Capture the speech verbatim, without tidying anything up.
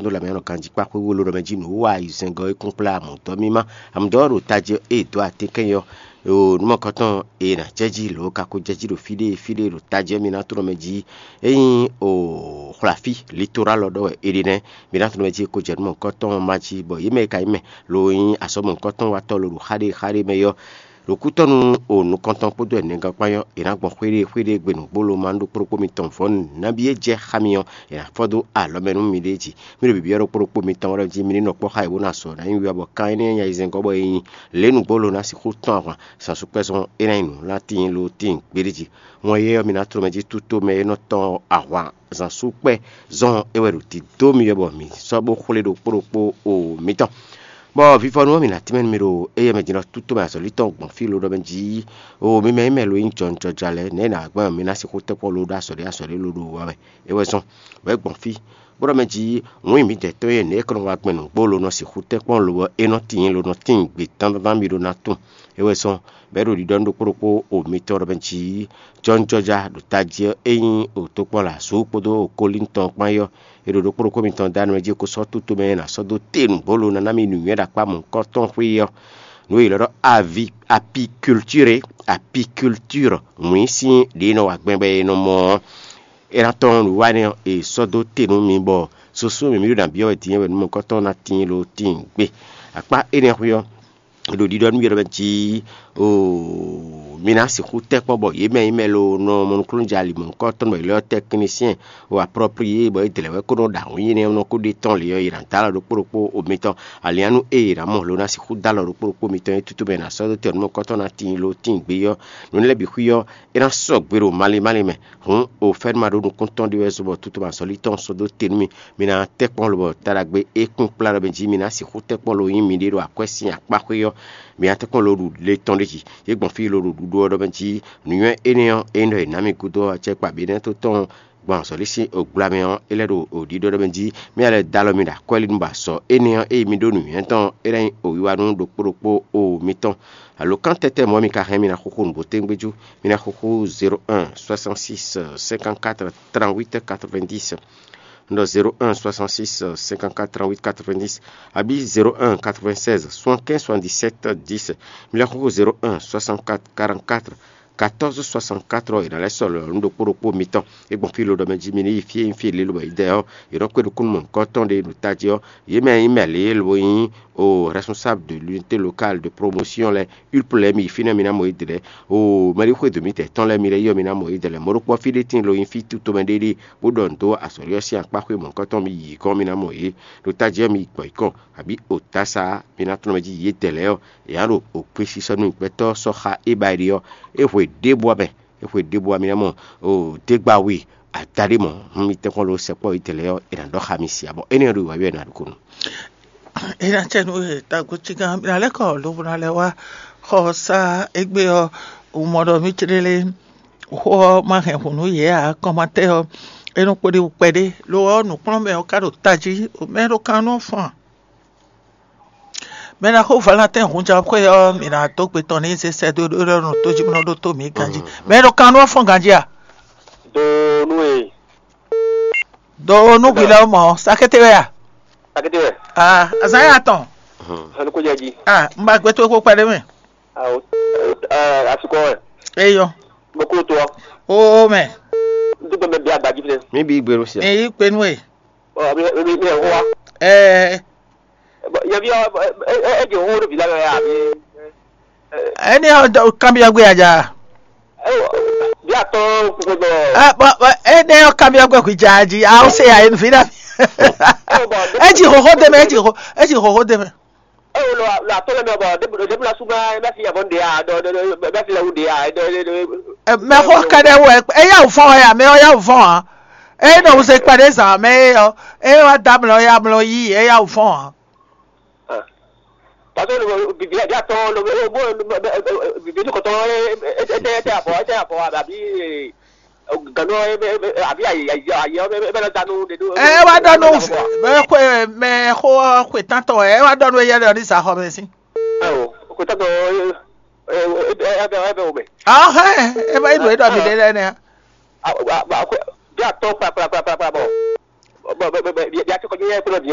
ɖo lanmɛ nɔ ganjí kpá xwé wolo ɖɔ mɛ jí nǔ wa ayizɛ́ngɔ́ e kún kplá amǔdɔ́ mímá. Amǔdɔ́ ɖo tají ɔ́, ée dǒ atínkɛn ɔ́, o nǔ mɔ̌kɔtɔn e è nǎ jɛ jí lǒ ka ko jɛ jí ɖo fí ɖé fí ɖé ɖo tají ɔ́, mi ná tunɔ mɛ jí. Ényí o xwlafí litorál ɔ́ ɖɔ wɛ è ɖe nɛ́, mi ná tunɔ mɛ jí e ko jɛ nǔ mɔ̌kɔtɔn ma jí, bɔ yě mɛ e ka nyí mɛ lo nyí azɔ̌ mɔ̌kɔtɔn watɔ́ lo ɖo xá ɖé xá ɖé mɛ ɔ́, ɖo kútɔ́nú o nukɔntɔn kpódó ɛnɛgán kpán ɔ́, è nǎ gbɔn xwéɖée xwéɖée gbe nǔgbó lo ma ɖó kpóɖó kpó mitɔn vɔ̌nu nǎbí e jɛ xá mi ɔ́, è nǎ fɔ́ dó alɔ mɛ nú miɖée jí. Mí ɖo bǐbí ɔ́ ɖokpó ɖokpó mitɔn wɛ jí mi ní nɔ kpɔ́ xá yě bó ná sɔ nǎ nyi wiwa bɔ kan énɛ́ nya yi zɛngɔ́ bɔ è nyi lě nǔgbó lo ná sixú tɔ́n ahwan, zǎnsúkpɛ́zɔn é ná nyí nǔ ná tíin lo tíin gbéɖé jí. Wɔn yɛ́ ɔ́, mi ná tló mɛ jí tútó mɛ e nɔ tɔ́n ahwan zǎnsúkpɛ́zɔn é wɛ ɖo dǐdó mi wɛ bɔ mǐ sɔ́ bó xwlé ɖokpó ɖokpó o mitɔn. Bɔ vivɔnu ɔ́, mǐ ná tínmɛ nú mi ɖo éyɛ́ mɛ din ɔ́, tútó mɛ azɔ̌lí tɔn gbɔn fí lo ɖɔ mɛ jí, o mi mɛ nyí mɛ lo nyí jɔnjɔja lɛ́ɛ, nɛ̌ è nǎ gbɔn mǐ ná sixú tɛ́ kpɔ́n lo ɖó azɔ̌ ɖé azɔ̌ ɖé lo ɖo wa wɛ? É wɛ zɔ́n, bɔ é gbɔn fí, bó ɖɔ mɛ jí, wǔ nyi mǐdɛɛ tɔn e nɛ̌ é kɔ nɔ wa gbɛn nǔgbó lo nɔ sixú tɛ́ kpɔ́n lo ɔ́, é nɔ tíin lo nɔ tíin gbe dandandan mi ɖó ná tunwun. É wɛ zɔ́n, bɔ é ɖo ɖiɖɔ nú ɖokpó ɖokpó o mitɔn ɖɔ mɛ jí, jɔnjɔja ɖo tají ɔ́, é nyí o tokpɔ́n lɛ azǔ kpódó o kólín tɔn kpán é ɔ́, è ɖo ɖokpó ɖokpó mitɔn dó anɔ jí é ko sɔ́ tútú mɛ e è nǎ sɔ́ dó te nǔgbó lo ná ná mì nǔnywɛ́ ɖo akpá mɔ̌hunkɔtɔn xwé ɔ́. Nǔ e è ylɔ́ ɖɔ avi apikultúre, apikultúr wǐn sín ɖě e nɔ wa gbɛn bɔ è nɔ mɔ ɔ́, é ná tɔ́n nǔwiwa énɛ́ ɔ́, è sɔ́ dó te nú mi bɔ susu mǐmí ɖo nǎ byɔ́ wɛ din é wɛ nǔ mɔ̌hunkɔtɔn ná tíin lo tíin gbé. Akpá énɛ́ xwé ɔ́, ɖo ɖiɖɔ nú yɛ ɖɔ mɛ jí, oo mi ná sixú tɛ́ kpɔ́n bɔ yě mɛ nyí mɛ lo nɔ mɔ nukúnnú jɛ ali mɔ̌hunkɔtɔn bɔ yě lɛ́ ɔ́ tɛ́ klínsɛn o apɔ́pliyé bɔ é dlɛ̌ wɛ kó nɔ ɖo awǐnnyinɛ ɔ́ nɔ kó ɖe tɔ́n lě ɔ́, yě ná dó alɔ ɖokpó ɖokpó o mitɔn. Alianú e yě ná mɔ lo ná sixú dó alɔ ɖokpó ɖokpó mitɔn e tútú mɛ è nǎ sɔ́ dó tɛn nǔ mɔ̌hunkɔtɔn ná tíin lo tíin gbé ɔ́, nǔ énɛ́ lɛ́ɛ bǐ xwí ɔ́, é ná sɔgbe ɖo malín málín mɛ. Hǔn o fɛ́nú ma ɖó nukúntɔn ɖé wɛ zɔ́n bɔ tútú ma zɔ́lí tɔn sɔ́ dó te nú mì. Mi ná tɛ́ kpɔ́n lobɔ ta ɖagbe e kún kplá ɖɔ mɛ jí mi ná sixú tɛ́ kpɔ́n lo nyí miɖée ɖo akwɛ́ sín akpá xwé ɔ́, mi ná tɛ́ kpɔ́n lo ɖu le tɔn ɖé jí. Yě gbɔn fí lo ɖo ɖuɖu ɔ́ ɖɔ mɛ jí nǔnywɛ́ énɛ́ ɔ́, é nyí ɖɔ è nǎ mi gúdo ɔ́, acɛkpa bǐ nɛ́ tó tɔn gbɔn azɔ̌lí sín ogbla mɛ ɔ́, é lɛ́ ɖo ɖiɖɔ ɖɔ mɛ jí mì lɛ́ dó alɔ mi ɖo akwɛ́ lí nú ba sɔ énɛ́ ɔ́, ényí mi ɖó nǔnywɛ́ tɔn é ná nyí owiwa nú ɖokpó ɖokpó o mitɔn. Alǒkan tɛ́tɛ́ mɔ̌ mi ka hɛn mi ná xúxú nǔgbó tɛ́ngbé jú? Mi ná xúxú zéro un soixante six cinquante quatre trente huit quatre vingt dix. Un ɖɔ zéro un soixante six cinquante quatre trente huit quatre vingt dix, abǐ zéro un quatre vingt seize soixante quinze soixante dix sept dix. Mi lɛ́ xúxú zéro un soixante quatre quarante quatre quatorze soixante quatre ɔ́, è nǎ lɛ́ sɔ́ lɔ̌ nú ɖokpó ɖokpó mitɔn. É gbɔn fí lo ɖɔ mɛ jí mi ní yi fí e nyí fí e lě lobɔ yě dɛ ɔ́, yě nɔ kpé ɖo kúnnu mɔ̌hunkɔtɔn ɖé ɖo tají ɔ́, yě mɛ e nyí mɛ lě e lo nyí o responsable de l'unité locale de promotion lɛ́ɛ, ULP lɛ́ɛ, mi yi fínɛ́ mi ná mɔ yědɛɛ lɛ́ɛ. O mɛɖé xwedó mì tɛ́ tɔn lɛ́ɛ mi lɛ́ yí ɔ́, mi ná mɔ yědɛɛ lɛ́ɛ. Mɔ̌ ɖokpó ɔ́, fí ɖé tíin lo nyí fí tútomɛ ɖé ɖíe, bó ɖɔ nǔ dó azɔ̌lí ɔ́ sín akpá xwé mɔ̌hunkɔtɔn, mi yi gɔ́n mi ná mɔ yě. Ɖo tají ɔ́, mi yi gbɔ̌ yi kɔn, abǐ o tása mi ná tlɔ́n mɛ jí yědɛɛ lɛ́ɛ ɔ́, è nǎ ɖo o gbésisɔ nú gbɛtɔ́ sɔ́ xá é ba yi ɖe ɔ́, é hwe ɖěbǔ ɔ́ mɛ. É hwe ɖěbǔ ɔ́, mi ná mɔ o dégbawé adaɖé mɔ̌. Hun mi tɛ́nkpɔ́n lo sɛkpɔ́ yědɛɛ lɛ́ɛ ɔ́, è nǎ ɖɔ xá mi sia, bɔ énɛ́ ɔ́ ɖo wǎ ɔ́, è nǎ ɖo kúnnu. É ná cɛ nú we tagbó cígán, mi ná lɛ́ kɔ lobo ná lɛ́ wá xɔ sá égbé ɔ́, un mɔ ɖɔ mì céɖélé xó ɔ́ ma hɛn hǔn nú yě ǎ. Kɔnmatɛ́ ɔ́, é nɔ kpóɖí wú kpɛɖé. Lo ɔ́, nǔkplɔ́nmɛ ɔ́ ka ɖo tají, mɛ e ɖo kan nú ɔ́ fɔ́n ǎ. Mɛ e ná xo Valentin hunjɔxwé ɔ́, mǐ ná dó gbe tɔn n'i zé sɛ́ dó ɖó nɔ tó jí bó nɔ ɖótó mǐ ganjí. Mɛ e ɖo kan nú ɔ́ fɔ́n ganjí a? Do nú e. Do nú hwi lɛ́ɛ mɔ sakété wɛ a? Sakété wɛ. Ah, azán yà tɔn. Hɛn kó jɛ jí. Ah, n ba gbé tó kó kpɛɖé mɛ. Awo. Asikɔ wɛ. Eyɔ. Mo kó to. O mɛ. N tó gbɛ mɛ bí agbají fɛ. Mi bí gbèrú sí. Èyí pinnu e. Ɔ mi mi mi ẹ̀ wá. Ɛɛ. Yɛbi ɔ ɛ ɛ ɛ jɛ wo ɖo bi la yɔ ya bi. Ɛni ɔ kanbiɔ gbé aja. Ɛ wɔ bí atɔ kpekpe dɔ. Ɛ bɔ bɔ ɛni ɔ kanbiɔ gbé kwi ja ji awo se ya yenu fi na. Ɛ wɔ bɔ Eji xoxo de mɛ, eji xoxo, eji xoxo de mɛ. Ɛ wɔ lɔ lɔ atɔ lɛ mɛ bɔ debu debu la suma bɛ fi yabɔ de ya dɔ dɔ dɔ bɛ fi la wu de ya dɔ dɔ dɔ. Mɛ xɔ kɛɖɛ wɛ eya wò fɔn ya mɛ ɔ ya wò fɔn a. Eye nɔ wuse kpɛɖé zǎn mɛ é ɔ́, eye wá dó amlɔ é amlɔ yí, é yá wǔ fɔ́n ǎ. Parce que bìbí àbí àtɔn ló bó bìbí ní kòtò ẹ ẹ ẹ abọ ẹ abọ àbí gànú àbí àyè àyè ẹ bẹ lọ dánú. Ẹ wá dɔnú mɛ xó xwe tántɔ ẹ wá dɔnú eyɛ lɛ ní zǎxɔ mɛ sí. Ẹ o kò tɔtɔ ẹ ẹ ẹ bẹ wò mẹ. Ahẹ́ ẹ bá yín lò é dɔ mi lé lẹ́nu ya. Bí àtọ́ kpakpakpakpa bọ̀ bọ̀ bọ̀ bọ̀ bí a ti kọjú yẹn kúrò bí.